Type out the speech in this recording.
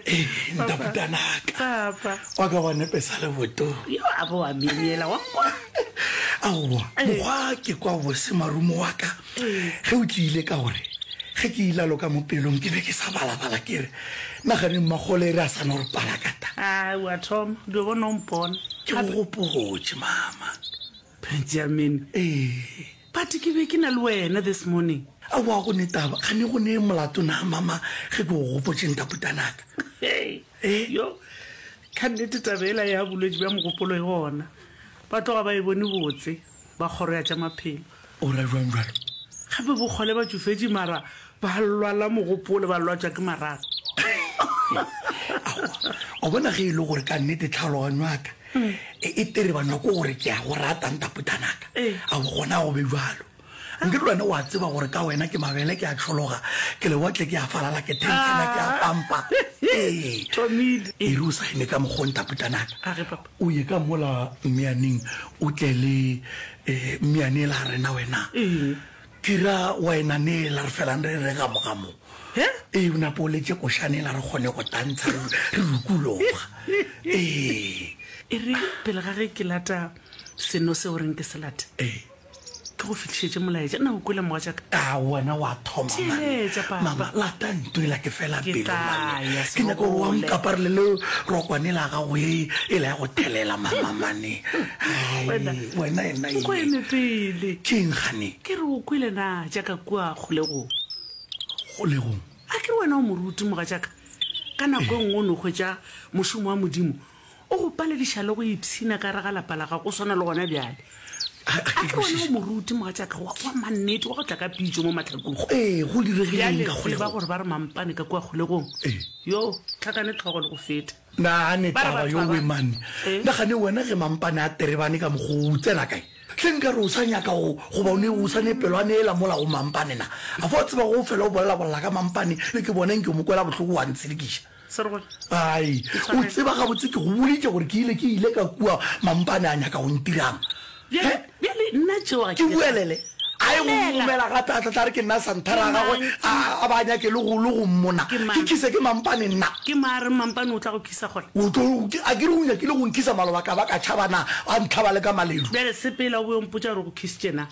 Ee, ntaputanaka. Papa. Wa ka wa nepesa le boto. Yo a bo wa myemyela wa kwa. Aowa, mokgwa ke kwa bose marumo wa ka. Ge o tlile ka gore ge ke ilalo ka mo pelong ke be ke sa balabala ke re nagane mmakgole e re a sa no re palakata. Ai, wa thoma, dio bona o mpona. Ke go gopotše mama. Benjamin. Ee. But ke be ke na le wena this morning. Aowa go ne taba, kgane go ne molato na mama ge ke go gopotše ntaputanaka? Hei, Eh? yo, ka nnete taba yela ya bolwetši bja mogopolo e gona. Ba tloga ba e bone botse ba kgoro ya tša maphelo. O ra bjang bjalo? Gape bokgole ba tšofetše mara ba lwala mogopolo, ba lwatšwa ke marato. Aowa, wa bona ge e le gore ka nnete tlhaloganyo ya ka e, e terebanywa ke gore ke a go rata ntaputanaka. Aowa, gona go be bjalo. Nke le wena wa tseba gore ka wena ke mabele ke a tšhologa, ke lewatle ke a falala, ke thentshana ke a pampa. Ee. Thomile. E re o sa eme ka mokgo ntaputanaka. A re papa. O ye ka mola mmeaneng o tle le eh, mmeane ela rena wena. Eng? Ke ra wena ne ela re felang re re gamogamo. He? Ee, o nape o letse košane ela re kgone go tantsha re re rukuloga. Ee. E re pele ga ge ke lata seno seo reng ke se late. Ee. Ke go fihlišetše molaetša. Na o kwele mogatšaka? A wena wa thoma mane. Theeletša, papa. Mama, lata nto ela ke fela Ke pelo tla mane. ya, Ke nyaka gore wa Serogole. nkaparele le rokwane la gago e ela ya go thelela mama mane. Hai, Wena, wena ena o ko eng? eme pele. Ke eng gane? Ke re o kwele na tša ka kua kgolegong? Kgolegong? A ke re wena o moruti, mogatšaka. Ka nako e nngwe o no hwetša mošomo wa Modimo O go palediša le go ipshina ka gare ga lapa la gago, go swana le gona bjale. A A ke ke wena o kwešiše. moruti, mogatšaka, wa, wa mannete, wa go tla ka pitšo mo mahlakong. Ee, go diregile Bjale eng ka tseba kgolegong? gore ba re mampane ka kua kgolegong. Ee. Yo, hlakane hlogo le go feta. Nagane Ba re taba batho yo ba ba. we mane. Ee. Nagane wena ge mampane a terebane ka mokgwa o, o tsena kae? Hle nka re o sa nyaka go, goba o ne o sa ne pelwane ela mola go mampane na? A fa o tseba go fela o bolelabolela ka mampane, le ke bona nke o mo kwela bohloko wa ntshelekiša. Serogole. Ai, o tseba gabotse ke go boditše gore ke ile ke ile ka kua mampane a nyaka go ntirang. Bjale, bjale nna tšeo ga ke ke buelele. A ye go mmomela gape a tla tla re ke nna santhara ya gagwe a a ba a nyake le go le go mmona. Ke mang? Ke khise ke mampane nna. Ke mang a reng mampane o tla go khisa gona? O tlo a ke re o nyakile go nkhisa maloba ka ba ka tšhaba na a ntlhaba le ka maledu. Bjale sepela o boe o mpotša gore o go khisitše na.